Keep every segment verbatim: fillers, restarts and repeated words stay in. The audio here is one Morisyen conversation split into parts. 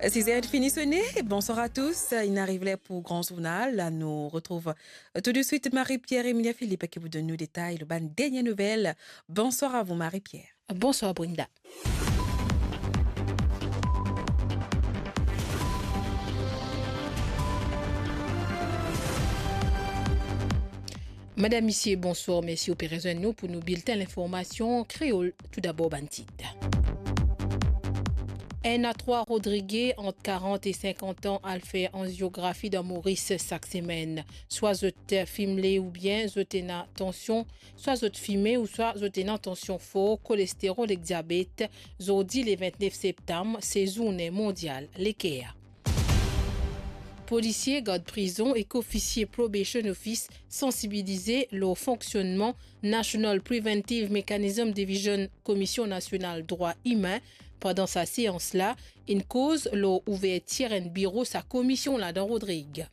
Siz er fini sone. Bonsoir à tous. Inn ariv ler pou gran zournal. La, nou retrouv, euh, tout de suite Marie-Pierre Emilia Philippe ki pou donn nou detay lor bann dernie nouvel. Bonsoir à vous, Marie-Pierre. Bonsoir, Brenda. Madam, misie, bonsoir, mersi ou pe rezwenn nou pou nou bilten linformasion kreol. Toudabor, bann tit. Enn a trwa Rodrige ant karant e sinkant an al fer anziografi dan Moris sak semenn. Swa zot fime oubien zot ena tansion, swa zot fime ou swa zot ena tansion for, kolesterol ek diabet. Zordi le vintnef septam, se zourne mondial leker. Polisie gard prizon ek ofisie Probation Office sansibilize lor fonksionnman National Preventive Mechanism Division Komisyon Nasional Drwa Imin. Pandan sa seans la, inn koz lor ouvertir enn biro sa komisyon la dan Rodrig.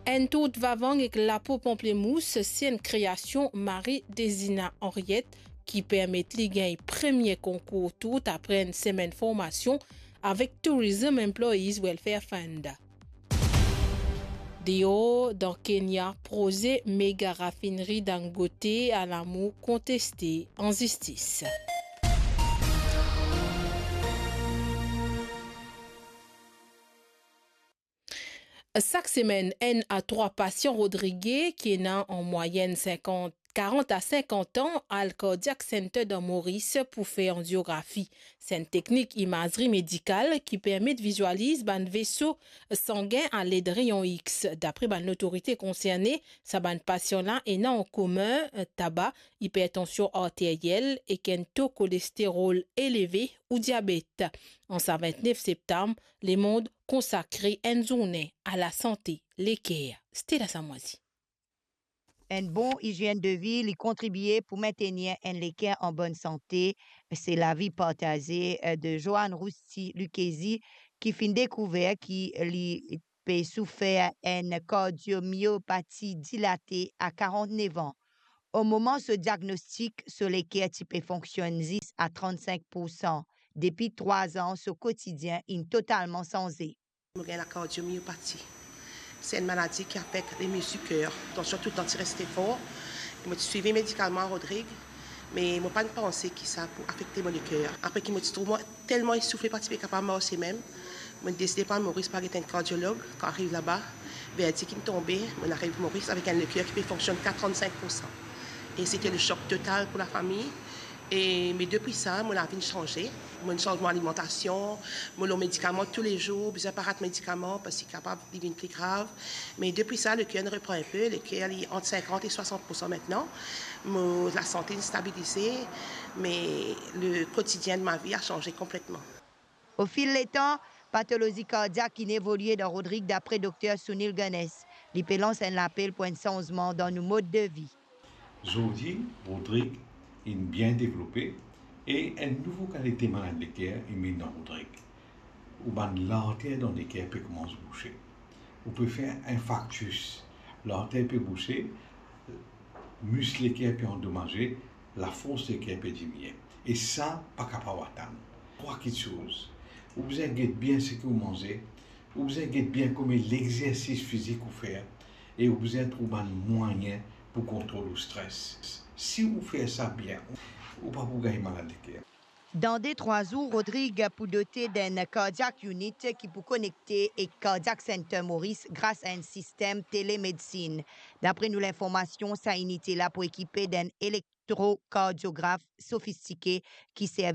Enn tourt vavang ek lapo panplemous, se enn kreasion Marie Dezina Henriette ki permet li gagn premie konkour tourt apre enn semenn formasion avek Tourism Employees Welfare Fund. Deor, dan Kenya, proze mega rafineri Dangote al amour konteste an zistis. Sak semenn, enn a trwa pasian Rodrige ki ena an mwayenn sinkant, karant a sinkant an al Cardiac Center dan Moris pou fer anziografi. Se enn teknik imazri medikal ki permet vizualiz bann veso sangin aled reyon X. Dapre bann lotorite konserne, sa bann pasian la ena an komin taba, ipertansion arteryel ek enn to kolesterol eleve ou diabet. An sa vintnef septam, lemond konsakre enn zourne a lasante leker. Stella Samwazi. Enn bon izienn de vi, li kontribie pou mintenir enn leker an bonn sante. Se lavi partaze, eh, de Joanne Rousti Lucchesi, ki finn dekouver ki li pe soufer enn kardiomiopati dilate a karant-nef an. O moman so diagnostik, so leker ti pe fonksionn zis a trant-sink poursan. Depi trwa an, so kotidien inn totalman sanze. Mo gagn lakardiomiopati. Se enn maladi ki afekt lemizir ker. Tansion toultan ti reste for. Mo ti swiv medikaman Rodrig, me mo pa'nn panse ki sa pou afekte mo leker. Apre ki mo ti trouv mwa telman esoufle, pa ti pe kapav marse mem, mo deside pou al Moris pou al get enn kardiolog. Kan ariv laba, verdik inn tonbe, mo ariv Moris avek enn leker ki pe fonksionn a trant-sink poursan. E se te le sok total pou lafami. E, me depi sa, mo lavi inn sanze. Mo inn sanz mo alimantasion, mo lor medikaman toulezour, bizin pa rat medikaman parski kapav li vinn pli grav. Me depi sa, leker inn repran enpe, leker li ant sinkant e swasant poursan mintnan. Mo lasante inn stabilize, me le kotidien de ma vie a sanze konpletman. O fil letan, patolozi kardiak inn evolie dan Rodrig, dapre dokter Sunil Ganesh. Li pe lans enn lapel pou enn sanzman dan nou mod de vi. Zordi, Rodrig inn bien devlope e enn nouvo kalite malad leker inn vinn dan Rodrig. Ou bann larter dan leker pe koumans bouse. Ou pe fer infarktis, larter pe bouse, mis leker pe andomaze, lafors leker pe diminie. E sa pa kapav atann. Trwa kiksoz. Ou bizin get bien seki ou manze, ou bizin get bien komie lexersis fizik ou fer, e ou bizin trouv bann mwayin pou kontrol ou stres. Si ou fer sa bien, ou pa pou gagn malad leker. Dan de trwa zour, Rodrig pou dote d'enn cardiac unit ki pou konekte ek Cardiac Center Maurice gras a enn sistem telemedsin. Dapre nou linformasion, sa inite la pou ekipe d'enn elektrokardiograf sofistike ki servi